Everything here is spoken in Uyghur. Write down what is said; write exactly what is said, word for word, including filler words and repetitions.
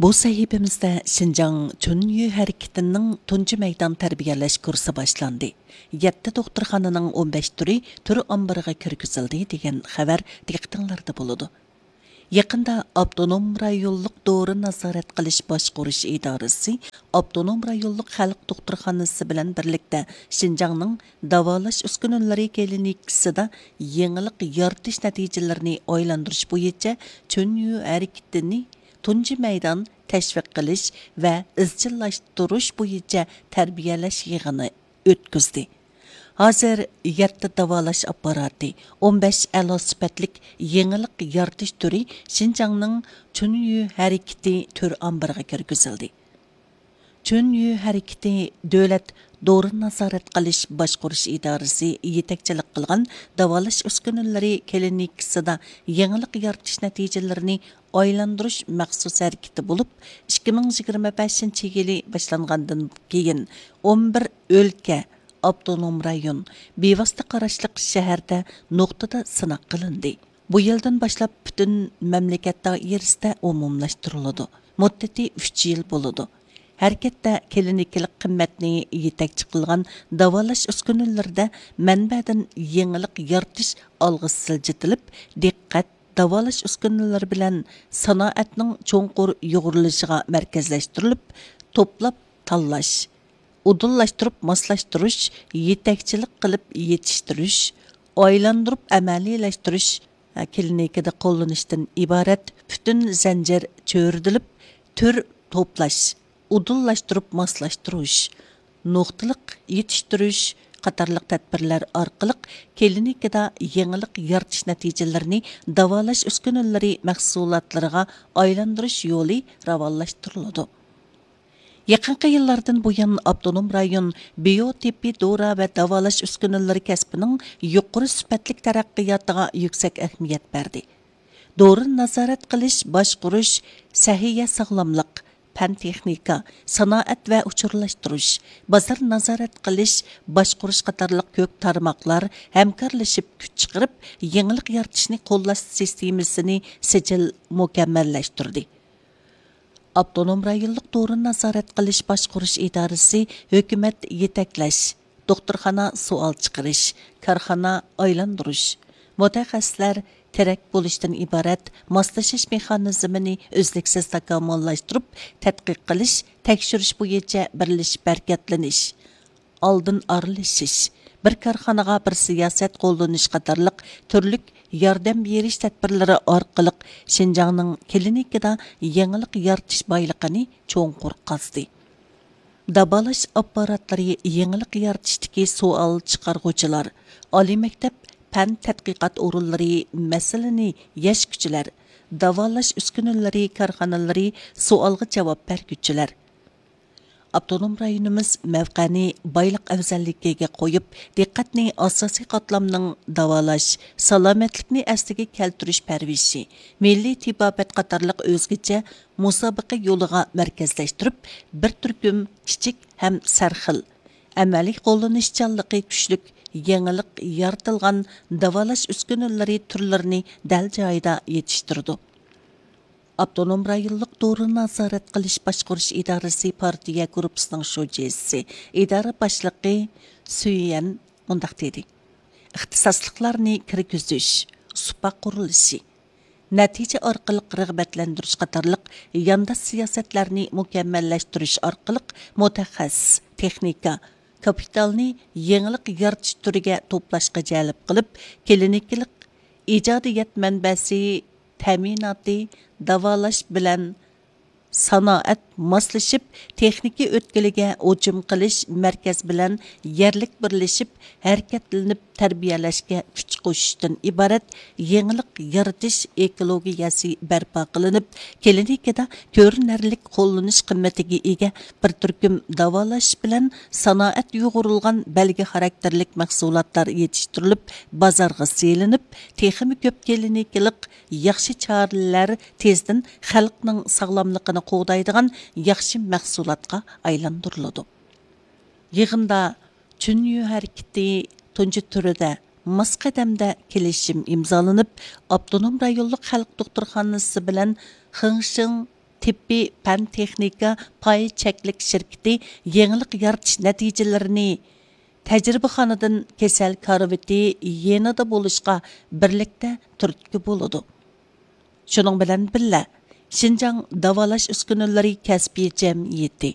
بۇ سەھىپىمىزدە شىنجاڭ چۈنيۈ ھەرىكىتىنىڭ تۇنجى مەيدان تەربىيەلەش كۇرسى باشلاندى. يەتتە دوختۇرخانىنىڭ ئون بەش تۈرى تۈر ئامبىرىغا كىرگۈزۈلدى دېگەن خەۋەر دىققىتىڭلاردا بولىدۇ. يېقىندا ئاپتونوم رايونلۇق دورا نازارەت قىلىش باشقۇرۇش ئىدارىسى ئاپتونوم رايونلۇق خەلق دوختۇرخانىسى بىلەن بىرلىكتە شىنجاڭنىڭ داۋالاش ئۈسكۈنىلىرى كلىنىكىسىدا يېڭىلىق يارىتىش نەتىجىلىرىنى ئايلاندۇرۇش بويىچە چۈنيۈ ھەرىكىتىنى تۇنجى مەيدان تەشۋىق قىلىش ۋە ئىزچىللاشتۇرۇش بويىچە تەربىيەلەش يىغىنى ئۆتكۈزدى. ھازىر يەتتە داۋالاش ئاپپاراتى، ئون بەش ئەلا سۈپەتلىك يېڭىلىق يارىتىش تۈرى شىنجاڭنىڭ چۈنيۈ ھەرىكىتى تۈر ئامبىرىغا كىرگۈزۈلدى. چۈنيۈ ھەرىكىتى دۆلەت دورا نازارەت قىلىش باشقۇرۇش ئىدارىسى يېتەكچىلىك قىلغان داۋالاش ئۈسكۈنىلىرى كلىنىكىسىدا يېڭىلىق يارىتىش نەتىجىلىرىنى ئايلاندۇرۇش مەخسۇس ھەرىكىتى بولۇپ، ئىككى مىڭ يىگىرمە بەشىنچى يىلى باشلانغاندىن كېيىن، ئون بىر ئۆلكە، ئاپتونوم رايون، بىۋاسىتە قاراشلىق شەھەردە نۇقتىدا سىناق قىلىندى. بۇ يىلدىن باشلاپ پۈتۈن مەملىكەت دائىرىسىدە ئومۇملاشتۇرۇلىدۇ. مۇددىتى ئۈچ يىل بولىدۇ. ھەرىكەتتە كلىنىكىلىق قىممەتنى يېتەكچى قىلغان داۋالاش ئۈسكۈنىلىرىدە مەنبەدىن يېڭىلىق يارىتىش ئالغا سىلجىتىلىپ، دىققەت داۋالاش ئۈسكۈنىلىرى بىلەن سانائەتنىڭ چوڭقۇر يۇغۇرۇلۇشىغا مەركەزلەشتۈرۈلۈپ، توپلاپ تاللاش، ئۇدۇللاشتۇرۇپ ماسلاشتۇرۇش، يېتەكچىلىك قىلىپ يېتىشتۈرۈش، ئايلاندۇرۇپ ئەمەلىيلەشتۈرۈش، كلىنىكىدا قوللىنىشتىن ئىبارەت پۈتۈن زەنجىر چۆرىدىلىپ، تۈر توپلاش، ئۇدۇللاشتۇرۇپ ماسلاشتۇرۇش، نۇقتىلىق يېتىشتۈرۈش قاتارلىق تەدبىرلەر ئارقىلىق كلىنىكىدا يېڭىلىق يارىتىش نەتىجىلىرىنى داۋالاش ئۈسكۈنىلىرى مەھسۇلاتلىرىغا ئايلاندۇرۇش يولى راۋانلاشتۇرۇلىدۇ. يېقىنقى يىللاردىن بۇيان، ئاپتونوم رايون بىيو تېببىي دورا ۋە داۋالاش ئۈسكۈنىلىرى كەسپىنىڭ يۇقىرى سۈپەتلىك تەرەققىياتىغا يۈكسەك ئەھمىيەت بەردى. دورىنى نازارەت قىلىش، باشقۇرۇش، سەھىيە ساغلاملىق، پەن تېخنىكا، سانائەت ۋە ئۇچۇرلاشتۇرۇش، بازار نازارەت قىلىش، باشقۇرۇش قاتارلىق كۆپ تارماقلار ھەمكارلىشىپ كۈچ چىقىرىپ، يېڭىلىق يارىتىشنى قوللاش سىستېمىسىنى سىجىل مۇكەممەللەشتۈردى. ئاپتونوم رايونلۇق دورىنى نازارەت قىلىش باشقۇرۇش ئىدارىسى ھۆكۈمەت يېتەكلەش، دوختۇرخانا سوئال چىقىرىش، كارخانا ئايلاندۇرۇش، مۇتەخەسسىسلەر تىرەك بولۇشتىن ئىبارەت ماسلىشىش مېخانىزمىنى ئۈزلۈكسىز تاكامۇللاشتۇرۇپ، تەتقىق قىلىش، تەكشۈرۈش بويىچە بىرلىشىپ ھەرىكەتلىنىش، ئالدىن ئارىلىشىش، بىر كارخانىغا بىر سىياسەت قوللىنىش قاتارلىق تۈرلۈك ياردەم بېرىش تەدبىرلىرى ئارقىلىق شىنجاڭنىڭ كلىنىكىدا يېڭىلىق يارىتىش بايلىقىنى چوڭقۇر قازدى. داۋالاش ئاپپاراتلىرى يېڭىلىق يارىتىشتىكى سوئال چىقارغۇچىلار، ئالىي مەكتەپ، پەن تەتقىقات ئورۇنلىرى مەسىلىنى يەشكۈچىلەر، داۋالاش ئۈسكۈنىلىرى كارخانىلىرى سوئالغا جاۋاب بەرگۈچىلەر. ئاپتونوم رايونىمىز مەۋقەنى بايلىق ئەۋزەللىكىگە قويۇپ، دىققەتنى ئاساسىي قاتلامنىڭ داۋالاش، سالامەتلىكنى ئەسلىگە كەلتۈرۈش پەرۋىشى، مىللىي تېبابەت قاتارلىق ئۆزگىچە مۇسابىقە يولىغا مەركەزلەشتۈرۈپ، بىر تۈركۈم كىچىك ھەم سەرخىل، ئەمەلىي قوللىنىشچانلىقى كۈچلۈك، يېڭىلىق يارىتىلغان داۋالاش ئۈسكۈنىلىرى تۈرلىرىنى دەل جايىدا يېتىشتۈرىدۇ. ئاپتونوم رايونلۇق دورىنى نازارەت قىلىش باشقۇرۇش ئىدارىسى پارتىيە گۇرۇپپىسىنىڭ شۇجىسى، ئىدارە باشلىقى سۈيۈەن مۇنداق دېدى: ئىختىساسلىقلارنى كىرگۈزۈش، سۇپا قۇرۇلۇشى، نەتىجە ئارقىلىق رىغبەتلەندۈرۈش قاتارلىق يانداش سىياسەتلەرنى مۇكەممەللەشتۈرۈش ئارقىلىق مۇتەخەسسىس، تېخنىكا، كاپىتالنى يېڭىلىق يارىتىش تۈرىگە توپلاشقا جەلپ قىلىپ، كلىنىكىلىق ئىجادىيەت مەنبەسى تەمىناتى، داۋالاش بىلەن سانائەت ماسلىشىپ، تېخنىكا ئۆتكىلىگە ھۇجۇم قىلىش مەركەز بىلەن يەرلىك بىرلىشىپ ھەرىكەتلىنىپ تەربىيەلەشكە كۈچ قوشۇشتىن ئىبارەت يېڭىلىق يارىتىش ئېكولوگىيەسى بەرپا قىلىنىپ، كلىنىكىدا كۆرۈنەرلىك قوللىنىش قىممىتىگە ئىگە بىر تۈركۈم داۋالاش بىلەن سانائەت يۇغۇرۇلغان بەلگە خاراكتېرلىك مەھسۇلاتلار يېتىشتۈرۈلۈپ، بازارغا سېلىنىپ، تېخىمۇ كۆپ كلىنىكىلىق ياخشى چارىلەر تېزدىن خەلقنىڭ ساغلاملىقىنى قوغدايدىغان ياخشى مەھسۇلاتقا ئايلاندۇرۇلىدۇ. يىغىندا چۈنيۈ ھەرىكىتى تۇنجى تۈرىدە ماس قەدەمدە كېلىشىم ئىمزالىنىپ، ئاپتونوم رايونلۇق خەلق دوختۇرخانىسى بىلەن خېڭشېڭ تېببىي پەن تېخنىكا پاي چەكلىك شىركىتى يېڭىلىق يارىتىش نەتىجىلىرىنى تەجرىبىخانىدىن كېسەل كارىۋىتى يېنىدا بولۇشقا بىرلىكتە تۈرتكە بولىدۇ. شۇنىڭ بىلەن بىللە، شىنجاڭ داۋالاش ئۈسكۈنىلىرى كەسپىي جەمئىيىتى